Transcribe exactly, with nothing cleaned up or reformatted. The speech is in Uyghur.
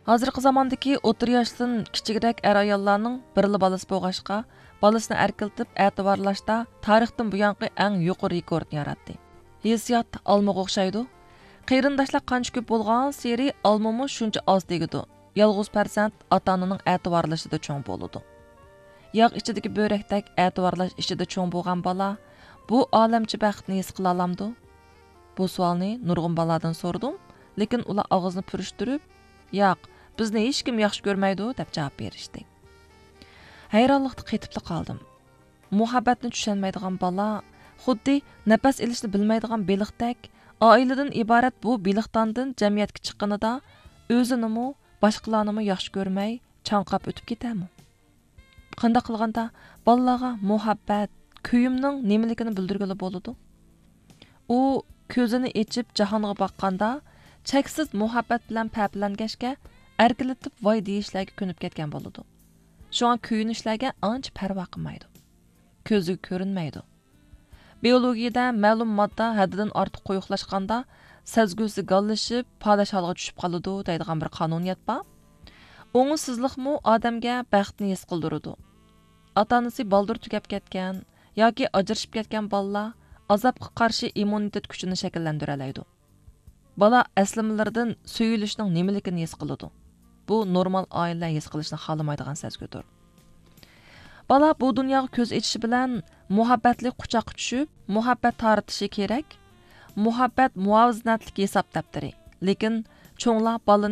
ھازىرقى زاماندىكى ئوتتۇرا ياشتىن كىچىكرەك ئەر-ئاياللارنىڭ بىرلا بالىسى بولغاچقا، بالىسىنى ئەركىلىتىپ ئەتىۋارلاشتا تارىختىن بۇيانقى ئەڭ يۇقىرى رېكورتنى ياراتتى. ھېسسىيات ئالمىغا ئوخشايدۇ. قېرىنداشلار قانچە كۆپ بولغانسېرى ئالمىمۇ شۇنچە ئاز تېگىدۇ. يالغۇز پەرزەنت ئاتا-ئانىنىڭ ئەتىۋارلىشىدا چوڭ بولىدۇ. ياغ ئىچىدىكى بۆرەكتەك ئەتىۋارلاش ئىچىدە چوڭ بولغان بالا بۇ ئالەمچە بەختنى ھېس قىلالامدۇ؟ بۇ سوئالنى نۇرغۇن بالىلاردىن سورىدىم، لېكىن ئۇلار ئاغزىنى پۈرۈشتۈرۈپ، «ياق، بىزنى ھېچكىم ياخشى كۆرمەيدۇ» دەپ جاۋاب بېرىشتى. ھەيرانلىقتا قېتىپلا قالدىم. مۇھەببەتنى چۈشەنمەيدىغان بالا خۇددى نەپەس ئېلىشنى بىلمەيدىغان بېلىقتەك، ئائىلىدىن ئىبارەت بۇ بېلىقتاندىن جەمئىيەتكە چىققىنىدا ئۆزىنىمۇ، باشقىلارنىمۇ ياخشى كۆرمەي، چاڭقاپ ئۆتۈپ كېتەرمۇ؟ قانداق قىلغاندا بالىلارغا مۇھەببەت، كۆيۈمنىڭ نېمىلىكىنى بىلدۈرگىلى بولىدۇ؟ ئۇ كۆزىنى ئېچىپ جاھانغا باققاندا، چەكسىز مۇھەببەت بىلەن پەپىلەنگەچكە، ئەركىلىتىپ ۋاي دېيىشلەرگە كۆنۈپ كەتكەن بولىدۇ. شۇڭا كۆيۈنۈشلەرگە ئانچە پەرۋا قىلمايدۇ. كۆزىگە كۆرۈنمەيدۇ. بىئولوگىيىدە مەلۇم ماددا ھەددىدىن ئارتۇق قويۇقلاشقاندا، سەزگۈسى گاللىشىپ، پاداش ھالغا چۈشۈپ قالىدۇ دەيدىغان بىر قانۇنىيەت بار. ئوڭۇشسىزلىقمۇ ئادەمگە بەختنى ھېس قىلدۇرىدۇ. ئاتا-ئانىسى بالدۇر تۈگەپ كەتكەن ياكى ئاجرىشىپ كەتكەن بالىلار ئازابقا قارشى ئىممۇنىتېت كۈچىنى شەكىللەندۈرەلەيدۇ. بالا ئەسلىمىلىرىدىن سۆيۈلۈشنىڭ نېمىلىكىنى ھېس قىلىدۇ. بۇ نورمال ئائىلىلەر ھېس قىلىشنى خالىمايدىغان سەزگۈدۇر. بالا بۇ دۇنياغا كۆز ئېچىشى بىلەن مۇھەببەتلىك قۇچاققا چۈشۈپ، مۇھەببەت تارىتىشى كېرەك. مۇھەببەت مۇۋازىنەتلىك ھېساب دەپتىرى. لېكىن چوڭلار بالىنى